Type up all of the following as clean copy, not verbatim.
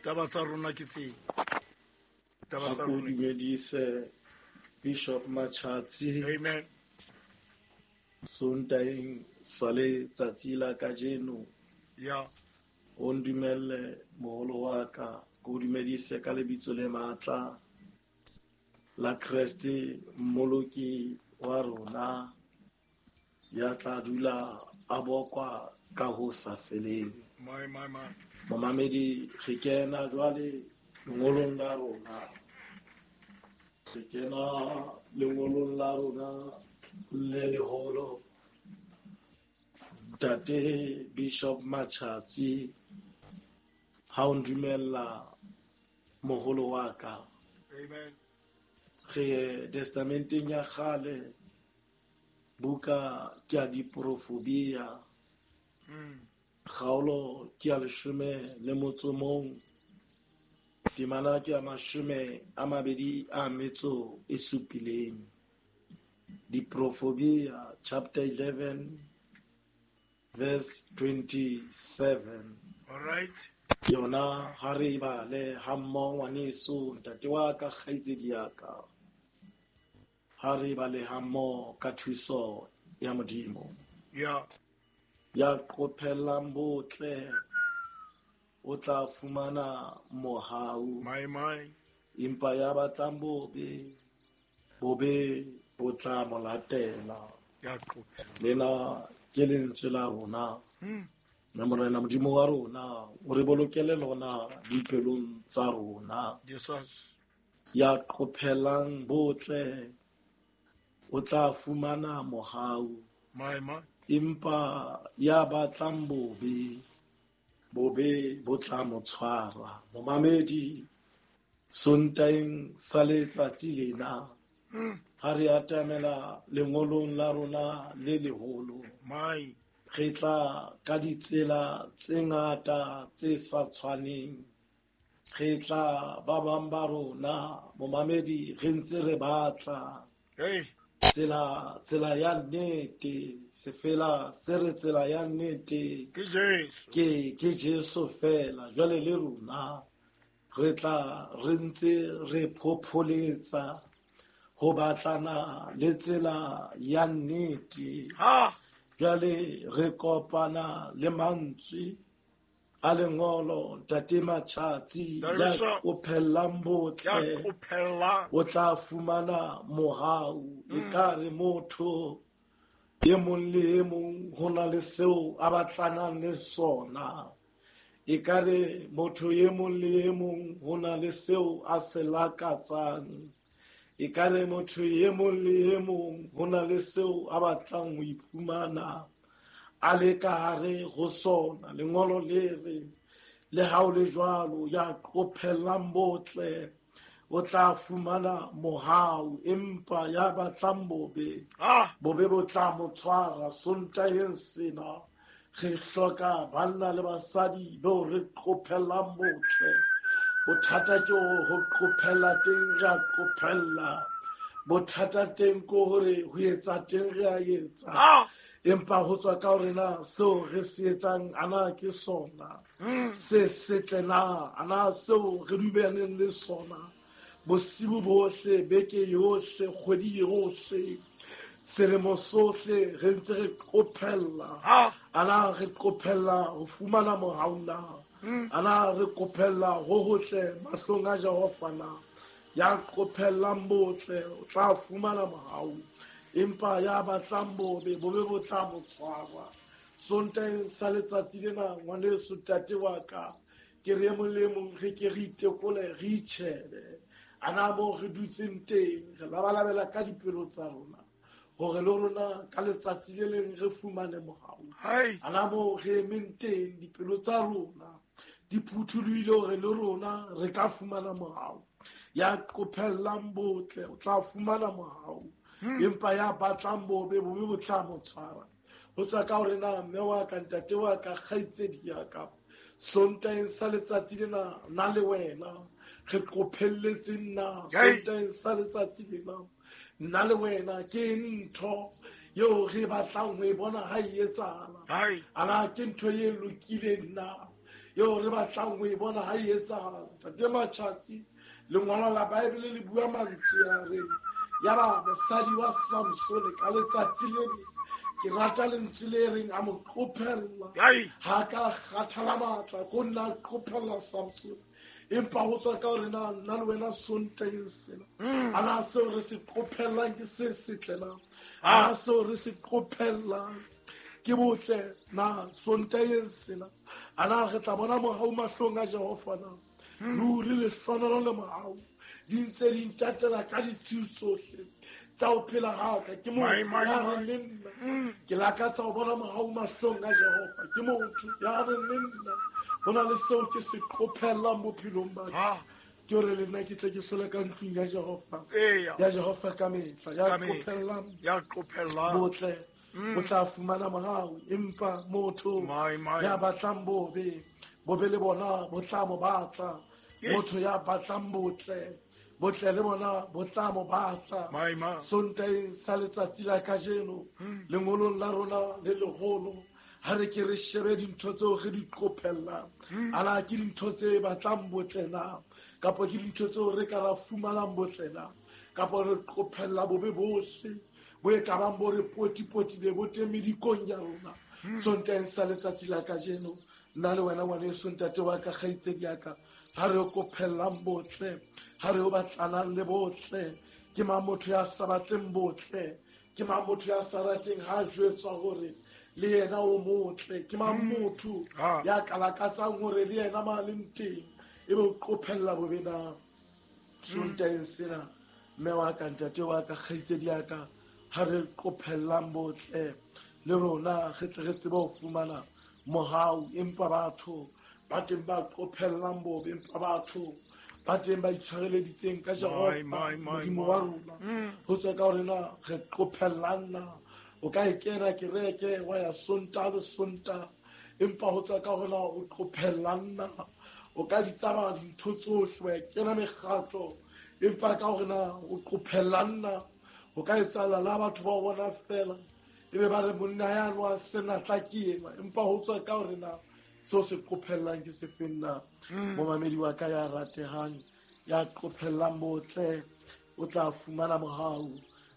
Taba tsa rona ke tseo. Taba tsa Ako rona. dumedise Bishop Machatsi. Amen. Sontaeng sa letsatsi la kajeno. Ya. O ndumelle moholo wa ka, ke o dumedise ka lebitso le matla la Kreste mmoloki wa rona ya tla dula a bokwa ka ho sa feleng. My my my. Momamedi, re kena jwale lengolong la rona. Re kena lengolong la rona le leholo. Ntate Bishop Machatsi, ha o ndumella moholo wa ka. Amen. Re testamenteng ya kgale, buka ke ya diprofobia. Kgaolo ke ya 11, temana ke ya 27. Diprofobia chapter 11 verse 27. All right. Yona ha re bale ha mmoho ngwaneso, ntate wa ka, kgaitsedi ya ka. Ha re bale ha mmoho ka thuso ya Modimo. Ya. Ya qophellang botle o tla fumana mohau. My my. Empa ya batlang bobe, bobe bo tla mo latela. Ya qophella. Lena ke lentswe la rona. Mme Morena Modimo wa rona o re bolokele lona dipelong tsa rona. Jesus. Ya qophellang botle o tla fumana mohau. My my. Empa ya batlang bobe, bobe bo tla mo tshwara. Momamedi, Sontaeng sa letsatsi lena, ha re atamela lengolong la rona le leholo, My. re tla ka ditsela tse ngata tse sa tshwaneng. Re tla ba bang ba rona, momamedi, re ntse re batla Hey. tsela ya nnete, sefela se re tsela ya nnete Ke Jesu. Ke Jesu fela. Jwale le rona re tla re ntse re phopholetsa ho batlana le tsela ya nnete. Ha. Jwale re kopana le mantswe a lengolo, Ntate Machatsi, Ntate ya Bishop. qophellang botle, Ya qophellang. o tla fumana mohau. Ekare motho e mong le e mong ho na le seo a batlanang le sona. Ekare motho e mong le e mong ho na le seo a se lakatsang. Ekare motho e mong le e mong ho na le seo a batlang ho iphumana a le ka hare ho sona. Lengolo le re, le ha o le jwalo, ya qophellang botle o tla fumana mohau, empa ya batlang bobe, bobe bo tla mo tshwara. Sontaeng sena re hloka banna le basadi bao re qophellang botle. Bothata ke ho qophella teng, re a qophella. Bothata teng ke hore ho etsa teng re a etsa. Empa ho tswa ka hore na seo re se etsang ana ke sona se setle na, ana seo re dumeleng le sona bosibu bohle, beke yohle, kgwedi yohle, selemo sohle re ntse re qophella. Ana re qophella ho fumana mohau na? Ana re qophella ho hotle mahlong a Jehova na? Ya qophellang botle o tla fumana mohau, empa ya batlang bobe, bobe bo tla mo tshwara. Sontaeng sa letsatsi lena, ngwaneso, ntate wa ka, ke re e mong le e mong re ke re itekole, re itjhebe. Ana moo re dutseng teng, re labalabela ka dipelo tsa rona hore le rona ka letsatsi le leng re fumane mohau. Ana moo re emeng teng, dipelo tsa rona di phuthulohile hore le rona re ka fumana mohau. Ya qophellang botle o tla fumana mohau, empa ya batlang bobe, bobe bo tla mo tshwara. Ho tswa ka hore na mme wa ka, ntate wa ka, kgaitsedi ya ka, Sontaeng sa letsatsi lena, nna le wena re qophelletse nna. Sontaeng sa letsatsi lena, nna le wena ke ntho eo re batlang ho e bona ha e etsahala. Ana ke ntho e lokileng na? eo re batlang ho e bona ha e etsahala. Ntate Matjhatsi, lengolo la Bible le bua mantswe a reng ya ba mosadi wa Samsone ka letsatsi le leng, ke rata lentswe le reng a mo qophella. Ha ka kgathala matla ko nna a qophella Samsone, empa ho tswa ka hore na nna le wena Sontaheng sena, a na seo re se qophellang ke se setle na? A na seo re se qophellang ke botle na Sontaheng sena? A na re tla bona mohau mahlong a Jehova na? Ruri lehlohonolo le mohau di ntse di ntatela ka ditshiu tsohle tsa ho phela ha ka. Ke motho ya reng le nna ke lakatsa ho bona mohau mahlong a Jehova. Ke motho ya reng le nna ho na le seo ke se qophellang bophelong ba ka, ke hore le nna ke tle ke hlole ka ntlong ya Jehova, ya Jehova ka mehla. Ya qophellang botle o tla fumana mohau, empa motho ya batlang bobe, bobe le bona bo tla mo batla. Motho ya batlang botle, botle le bona bo tla mo batla. Sontaheng sa letsatsi la kajeno, lengolong la rona le leholo, ha re ke re shebe dintho tseo re di qophellang. Ana ke dintho tse batlang botle na, kapa ke dintho tseo re ka ra fumanang botle na, kapa re qophella bobe bohle bo e ka bang bo re potipotile bo teng medikong ya rona. Sontaheng sa letsatsi la kajeno, nna le wena ngwaneso, ntate wa ka, kgaitsedi ya ka, ha re qophellang botle, ha re o batlanang le botle. Ke mang motho ya sa batleng botle? Ke mang motho ya sa rateng ha jwetswa hore le yena o motle? Ke mang motho ya ka lakatsang hore le yena ma leng teng ebe o qophella bobe na? Sontaheng sena, mme wa ka, ntate wa ka, kgaitsedi ya ka, ha re qophellang botle le rona re tle re tsebe ho fumana mohau. Empa batho ba teng ba qophellang bobe, empa batho ba teng ba itshwareleditseng ka Jehova Modimo wa rona. Ho tswa ka hore na re qophellang na. O ka e kena kereke wa ya Sontaha le Sontaha, empa ho tswa ka hore na o qophellang na. O ka di tsamaya dintho tsohle, wa kena mekgatlo, empa ka hore na o qophellang na. O ka etsahala la batho ba o bona fela ebe ba re monna ya nwa senatla ke enwa, empa ho tswa ka hore na seo se qophellang ke sefeng na. Momamedi wa ka ya ratehang, ya qophellang botle o tla fumana mohau.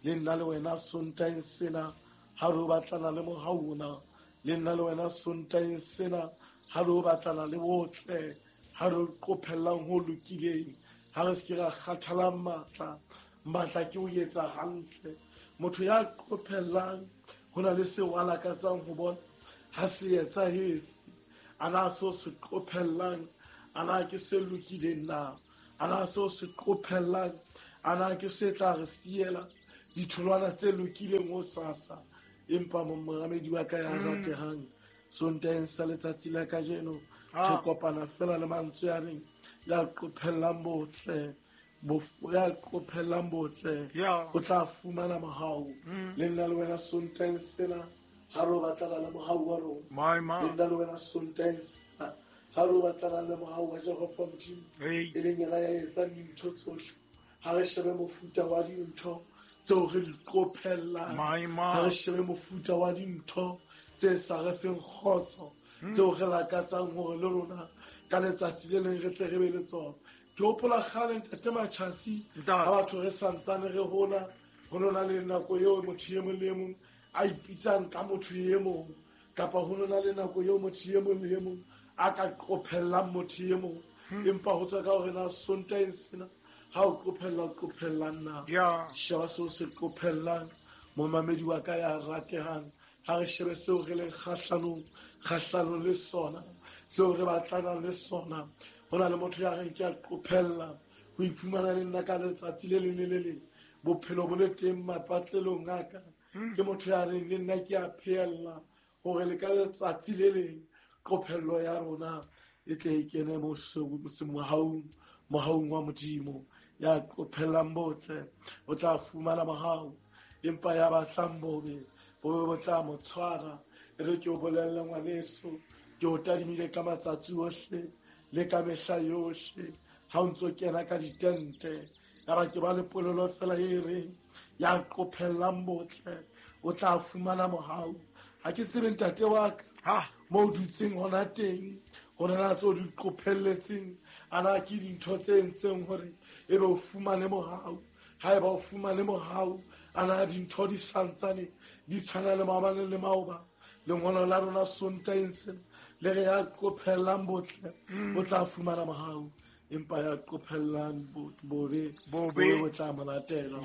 Le nna le wena Sontaheng sena ha re o batlana le mohau ona, le nna le wena Sontaheng sena ha re o batlana le botle, ha re o qophellang ho lokileng, ha re se ke ra kgathalang matla. Matla ke ho etsa hantle. Motho ya qophellang ho na le seo a lakatsang ho bona ha se etsahetse. A na seo se qophellang, a na ke se lokileng na? A na seo se qophellang, a na ke se tla re siela ditholwana tse lokileng ho sasa? Empa momamedi wa ka ya ratehang, Sontaheng sa letsatsi la kajeno re kopana fela le mantswe a reng ya qophellang botle, ya qophellang botle o tla fumana mohau. Le nna le wena Sontaheng sena ha re o batlana le mohau wa rona, le nna le wena Sontaheng sena ha re o batlana le mohau wa Jehova Modimo, e leng yena ya etsang dintho tsohle. Ha re shebe mofuta wa dintho tseo re di qophellang, ha re shebe mofuta wa dintho tse sa re feng kgotso, tseo re lakatsang hore le rona ka letsatsi le leng re tle re be le tsona. Ke hopola kgale ntate Matjhatsi, ha batho re santsane re hola, ho nona le nako eo motho e mong le e mong a ipitsang ka motho e mong, kapa ho nona le nako eo motho e mong le e mong a ka qophellang motho e mong. Empa ho tswa ka hore na Sontaheng sena ha o qophella, o qophellang na. Sheba seo se qophellang, momamedi wa ka ya ratehang. Ha re shebe seo re leng kgahlanong le sona, seo re batlanang le sona. Ho na le motho ya reng ke a qophella ho iphumana le nna ka letsatsi le leng le le leng, bophelo bo le teng mapatlelong a ka. Ke motho ya reng le nna ke a phehella hore le ka letsatsi le leng qophello ya rona e tle e kene mohaung wa Modimo. Ya qophellang botle o tla fumana mohau, empa ya batlang bobe, bobe bo tla mo tshwara. E re ke o bolelle ngwaneso, ke o tadimile ka matsatsi ohle le ka mehla yohle ha o ntso kena ka ditente. Ya ba ke ba le polelo fela e reng ya qophellang botle o tla fumana mohau. Ha ke tsebe ntate wa ka mo o dutseng hona teng, Ho na tseo di qophelletseng, ana ke dintho tse entseng hore ebe o fumane mohau. Haeba o fumane mohau, ana dintho di santsane di tshwana le maobane le maoba. Lengolo la rona Sontaeng sena le re ya qophellang botle o tla fumana mohau, empa ya qophellang bobe bo tla mo latela.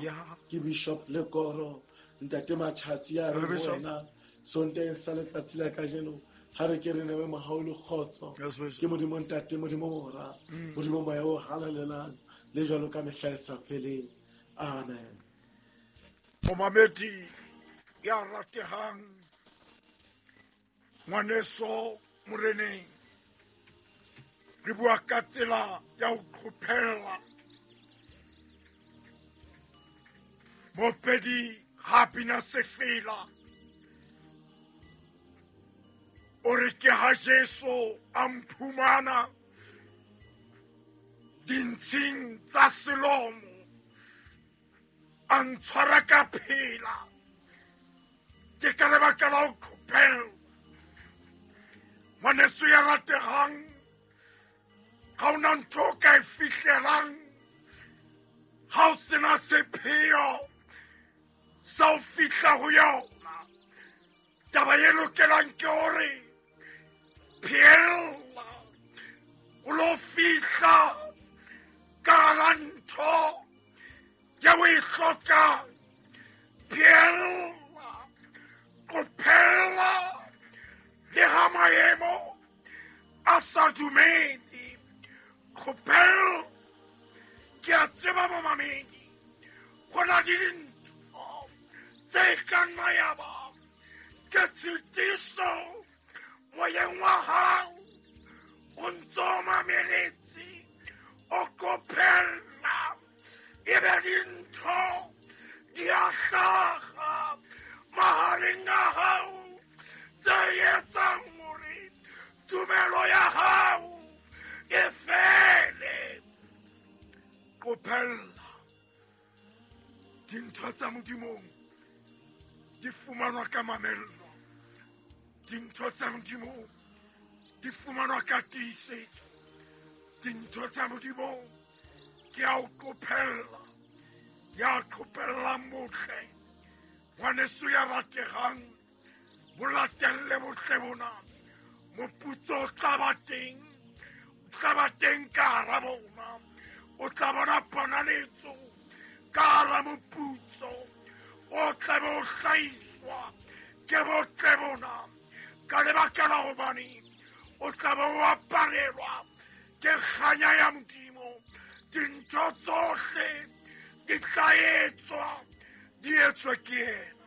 Ke Bishop Lekoro, Ntate Matjhatsi ya re wena Sontaeng sa letsatsi la kajeno ha re ke re newe mohau le kgotso. Ke Modimo Ntate, Modimo Mora, Modimo Moya o Halalelang, le jwalo ka mehla e sa feleng. Amen. Momamedi ya ratehang, ngwaneso moreneng, re bua ka tsela ya ho qophella. Mopedi ha bina sefela, o re ke ha Jesu a mphumana dintshing tsa selomo, a ntshwara ka phela. Ke ka lebaka la ho qophella. Ngwaneso ya ratehang, ga ona ntho o ka e fihlelang ha o sena sepheo sa ho fihla ho yona. Taba e lokelang ke hore phehella o lo fihla ka hara ntho ya o e hlokang. Phehella, qophella le ha maemo a sa dumele. Qophella. Ke a tseba momamedi, go na le dintho tse ka nna ya ba ke tshitiso moyeng wa hao, o ntso o mameletse, o qophella, ebe dintho di a hlaha mahareng a hao tse etsang hore tumelo ya hao e fele. Qophella. Dintho tsa Modimong di fumanwa ka mamello. Dintho tsa Modimong di fumanwa ka tiisetso. Dintho tsa Modimong ke ya ho qophella, ya qophellang botle. Ngwaneso ya ratehang, bo latelle botle bona. Moputso o tla ba teng, o tla ba teng ka hara bona. O tla bona ponaletso ka hara moputso o tla be o hlahiswa ke botle bona, ka lebaka la hobane o tla be o aparelwa ke kganya ya Modimo. Dintho tsohle di tla etswa, di etswe ke yena.